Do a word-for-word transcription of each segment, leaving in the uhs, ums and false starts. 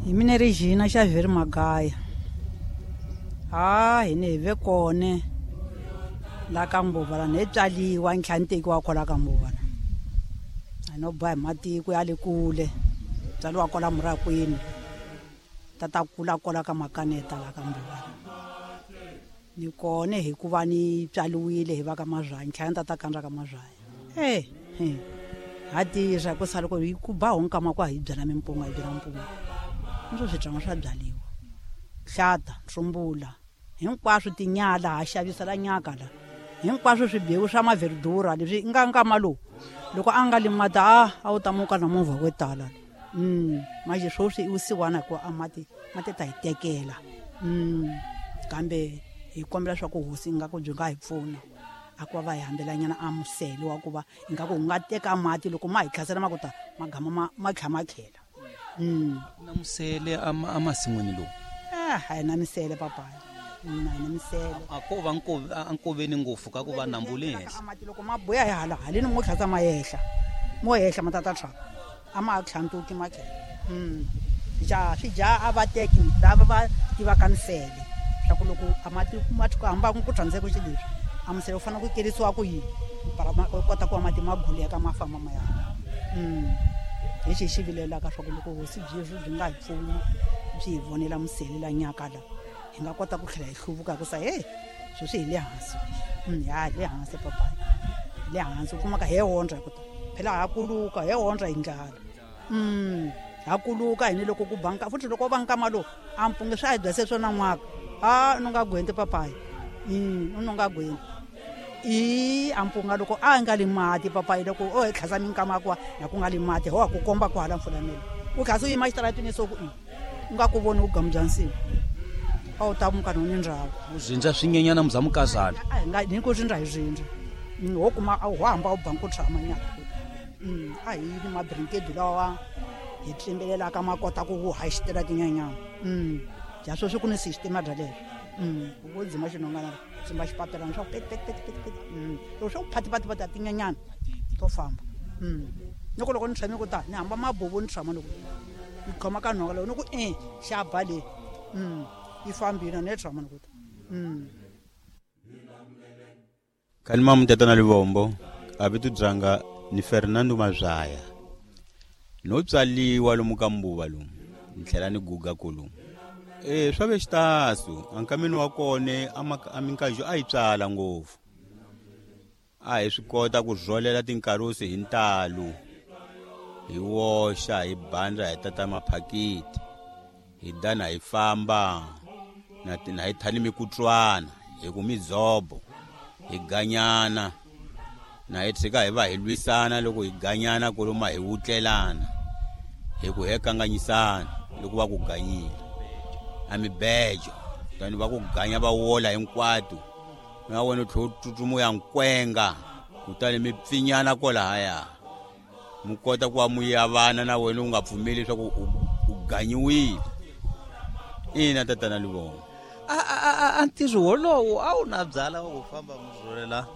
Hi mina Regina Xavier Magaya. Ha hi ne hi ve kone la ka Mbuva la ne tswaliwa ni tlhela ni tekiwa kwala ka Mbuva la. A no boha hi matiko ya le kule, tswaliwa kwala Murakwini, tata kula kwala ka Makaneta la ka Mbuva. Ni kone hikuva ni tswaliwile hi va ka Mazwanya, ni tlhela ni tata kandza ka Mazwanya. Eh, eh. Ha tirha ku sala ku hi ku ba ho nkama ku a hi byala mimpunga, hi byala mpunga. Ni swi swi swa byaliwa. Hlata, ntsumbula, hinkwaswo tinyala ha xavisa la nyaka la. Hinkwaswo swibewu swa maverdura leswi nga nkama lowu. Loko a nga li mati a a wu ta muka na movha wo tala. Mm, manje sweswi i vusiwana hikuva a mati mati ta hi tekela. Mm, kambe hi kombela swa ku hosi ingaku byi nga hi pfuna. A ku va va hi hambelanyana a musele wa ku va ingaku wu nga teka mati loko ma hi tlhasela ma ku ta ma gama ma ma tlha ma tlhela. Mm. Na musele a ma, a masin'wini lowu? Ah, a hi na misele papaya. Mm, a hi na misele. A ko va nko-, a nkoveni ngopfu ka ku va nambu le henhla. A mati loko ma buya hi hala, haleni mo tlhasa ma yehla. Mo yehla ma tata tlhaka. A ma tlhantuki ma tlhela. Mm. Ja, swi dya a va teki lava va tivaka misele. Swa ku loko a mati ma ku hamba ku tsandzeka xilo leswi. A misele wu fanele ku kerisiwa ku yini? Para ma kota ku va mati ma guleka ma famba ma ya. Mm. Hi xi xi vilelaka swa ku loko hosi byi byi nga hi pfuna, byi hi vonela musele la nyaka la, hi nga kota ku tlhela hi hluvuka ku sa, hey, sweswi hi le hansi. Mm, ya, hi le hansi papa. Hi le hansi, u kumaka he ondza hi ku ta. Phela ha kuluka, he ondza hi ndlala. Mm, ha kuluka hi ni loko ku banka, futhi loko va nkama lowu, a mpungi swi a hi byase swona n'waka. Ah, u nga gwenti papayi. Mm, u nga gwenti. I a mpunga loko a nga li mati papayi loko o hi tlhasa minkama kwa na ku nga li mati ho ku komba ku hala mfulanelo. U tlhasa u yima xitaratini so ku i u nga ku voni vugamu bya nsimu. A wu ta muka no ni ndhawu. U zindza swinyenyana muzamukazana. A hi nga ni ku zindza hi zindza. Mm, ho kuma a ho hamba u banku tshama nyana. Mm, a hi ni mabrinkedi lawa hi tlimbelelaka ma kota ku wu haxitela tinyenyana. Mm, ja sweswi ku ni system ya leswo. Mm, u dzima xinhongana dzima xipapelana swa pet pet pet pet pet. Mm, loko swa ku phati phati phati tinyenyana to famba. Mm. Ni ku loko ni tshame ku ta ni hamba mabubu ni tshama loko ni khoma ka nhonga loko ni ku e xa ba le. Mm, yi fambile ni tshama ni ku ta. Mm. Kalima mutata na Livombo a vito dzanga ni Fernando Mazaya. No tswaliwa lomu ka Mbuva lomu, ni tlhela ni guga kolomu. Eh, swa ve xitasu, ankameni wa kone, a ma, a minkajo a yi tswala ngopfu. A hi swi kota ku rholela tinkarusi hi ntalo, hi woxa, hi bandza, hi tata maphakiti, hi dana hi famba, na ti, na hi thani mikutswana, hi ku midzobo, hi ganyana, na hi tshika hi va hi lwisana loko hi ganyana koloma hi wutlelana, hi ku he kanganyisana loko va ku ganyile. A mibejo, tani va ku ganya va wola hinkwato, na wena u tlhela u tsutsuma u ya nkwenga, kutani mi pfinyana kwalahaya. Mi kota ku va mu yavana na wena u nga pfumeli leswaku u, u ganyiwile. Ina tatana Livombo. A, a, a, a, a ntirho wolowo a wu na byala wa ku famba mu rholela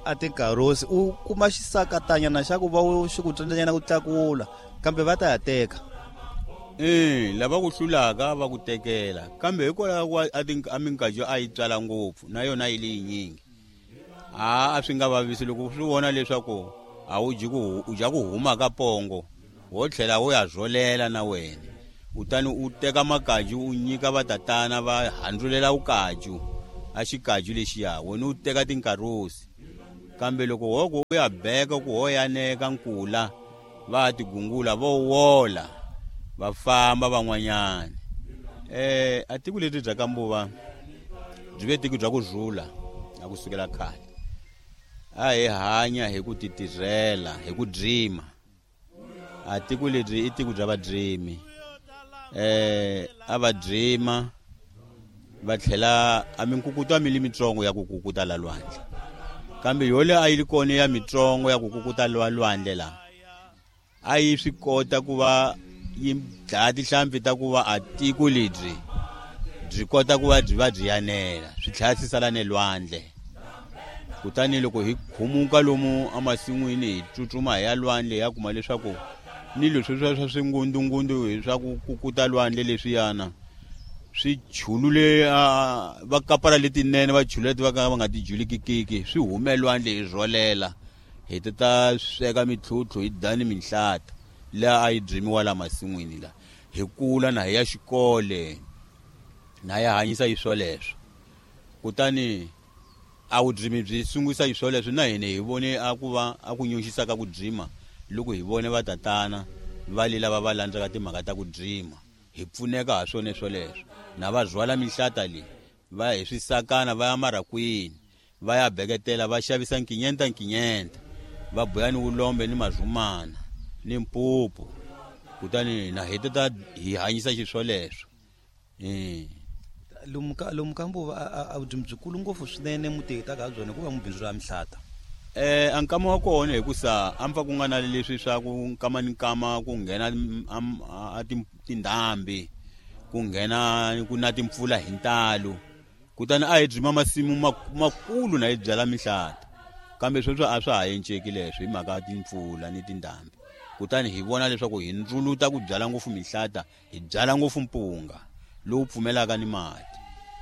a tinkarosi, u kuma xisakatanyana xa ku va u xi ku tsandzanyana ku tlakula, kambe va ta ya teka. Eh, lava ku hlulaka va ku tekela, kambe hikwalaho ka a ti, a minkajo a yi tswala ngopfu na yona yi le yinyingi. A, a swi nga vavisi loko swi vona leswaku a wu dyi ku, u dya ku huma ka pongo, wo tlhela u ya rholela na wena. Kutani u teka makaju u nyika vatatana va handzulela vukaju, a xikaju lexiya, wena u teka tinkarosi. Kambe loko ho ku u ya beka ku ho yaneka nkula, va tigungula vo wola, va famba van'wanyana. Eh, a tiko leri bya ka Mbuva byi ve tiko bya ku rhula a ku sukela khale. A hi hanya hi ku titirhela, hi ku dreama. A tiko leri i tiko bya vadreami. Eh, a va dreama va tlhela a minkukuto a mi li mitsongo ya ku kukuta la lwandle. Kambe yole a yi ri kona ya mitsongo ya ku kukuta la lwandle la, a yi swi kota ku va yi dlaya tihlampfi ta ku va a tiko lebyi byi kota ku va byi va byi yanela, swi tlhela swi sala ne lwandle. Kutani loko hi khumuka lomu emasin'wini hi tsutsuma hi ya lwandle hi ya kuma leswaku Ni leswi swa swa swingundungundu swa ku kukuta lwandle leswiyana swi chulule va kapara letinene va chulule leti va ka va nga ti julikikiki swi hume lwandle hi rholela hi ta ta sweka mitlhutlhu hi dani minhlata laha a yi byimiwa la masin'wini la hi kula na hi ya xikole na ya hanyisa hi swoleswo. Kutani a vudzimi byi sungurisa hi swoleswo na hina hi vone a ku va a ku nyunxisa ka ku dzima loko hi vone va tatana va le lava va landzaka timhaka ta ku dzima hi pfuneka ha swona swoleswo. Na va rhwala minhlata leyi va hi swisakana va ya marakwini va ya beketela va xavisa nkinyenta nkinyenta va boya ni vulombe ni mazumana ni mpupu. Kutani na hi ta hi hanyisa xiswoleswo. Eh lomu ka lomu ka Mbuva a vudzimi byikulu ngopfu swinene mutehita ka byona ku va mubindzu ra mihlata. Eh a nkama wa kona hikusa a mpfa ku nga na leswi swa ku nkama ni nkama ku nghena a tindhambi ku nghena ku na timpfula hi ntalo. Kutani a hi dzima masimu makulu na hi byala mihlata kambe sweswo a swa ha enceki leswo hi mhaka ya timpfula ni tindhambi. Kutani hi vona leswaku hi ndzuluta ku byala ngopfu mihlata hi byala ngopfu mpunga lowu pfumelaka ni mati.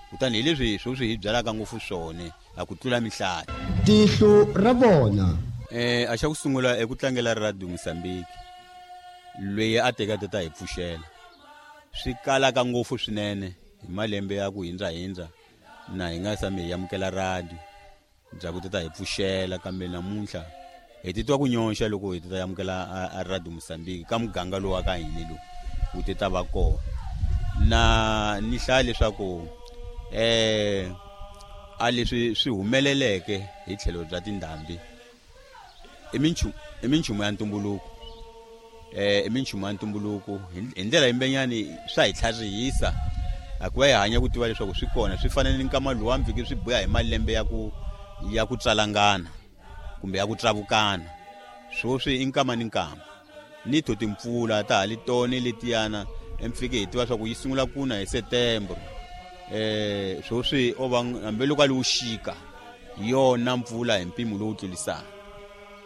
Kutani hi leswi sweswi hi byalaka ngopfu swona a ku tlula mihlata. Tihlo ra vona. Eh a xa ku sungula eku tlangela Radio Mozambique loyi a teka tata hi pfuxela swi kalaka ngopfu swinene hi malembe ya ku hindza hindza na hi nga sami hi amukela radio bya ku tata hi pfuxela kambe namuntlha hi titwa ku nyonxa loko hi tata amukela a Radio Mozambique ka muganga lowu wa ka hina lowu wu tata va kona. Na ni hlaya leswaku eh a leswi swi humeleleke hi tlhelo bya tindhambi i minchumu i minchumu ya ntumbuluko eh i minchumu ya ntumbuluko hi ndlela yimbenyani swa hi tlharihisa a ku va hi hanya ku tiva leswaku swi kona swi fanele ni nkama luwa mfike swi buya hi malembe ya ku ya ku tsalangana kumbe ya ku tsavukana. Swoswi i nkama ni nkama ni to timpfula ta ha li tone letiyana emfike hi tiva swa ku yi sungula kuna hi September. Eh swoswi o va hambi loko a li wuxika yona mpfula hi mpimo lowu tlulisaka.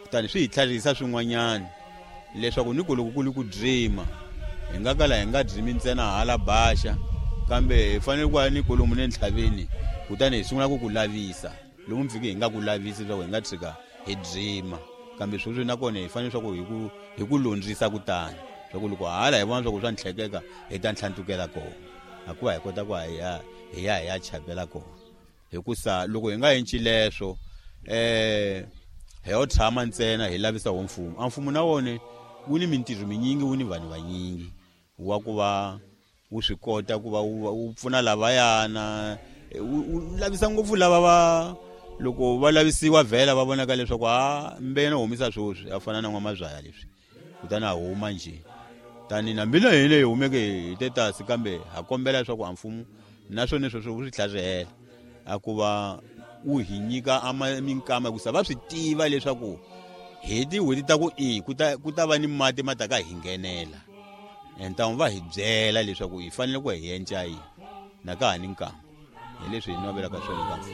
Kutani swi hi tlharihisa swin'wanyana leswaku ni ku loko ku li ku dzima hi nga kala hi nga dzimi ntsena hala baxa kambe hi fanele ku ya ni kolomu ne ntlhaveni kutani hi sungula ku ku lavisa lomu mfike hi nga ku lavisi leswaku hi nga tshika hi dzima kambe sweswi nakona hi fanele swa ku hi ku hi ku londzisa kutani swa ku loko hala hi vona swa ku swa ntlhekeka hi ta ntlhantukela kona a ku va hi kota ku hi ya hi ya hi ya chapela kona. Hikusa loko hi nga enci leswo eh hi yo tshama ntsena hi lavisa wo mfumo a mfumo na wona wu ni mintirho minyingi wu ni vanhu vanyingi wa ku va wu swi kota ku va wu pfuna lavayana wu lavisa ngopfu lava va loko va lavisiwa vhela va vonaka leswaku a mbena humisa swoswi a fana na n'wamazwaya leswi kutani a huma nje. Tani na mina hi leyi humeke hi tetasi kambe ha kombela leswaku a mfumo naswona sweswo wu swi tlharihela a ku va wu hi nyika a minkama hikusa va swi tiva leswaku hi tin'hweti ta ku i ku ta ku ta va ni mati ma ta ka hi nghenela entamu va hi byela leswaku hi fanele ku hi enca yini na ka ha ni nkama hi leswi hi navelaka swona ka mfumo.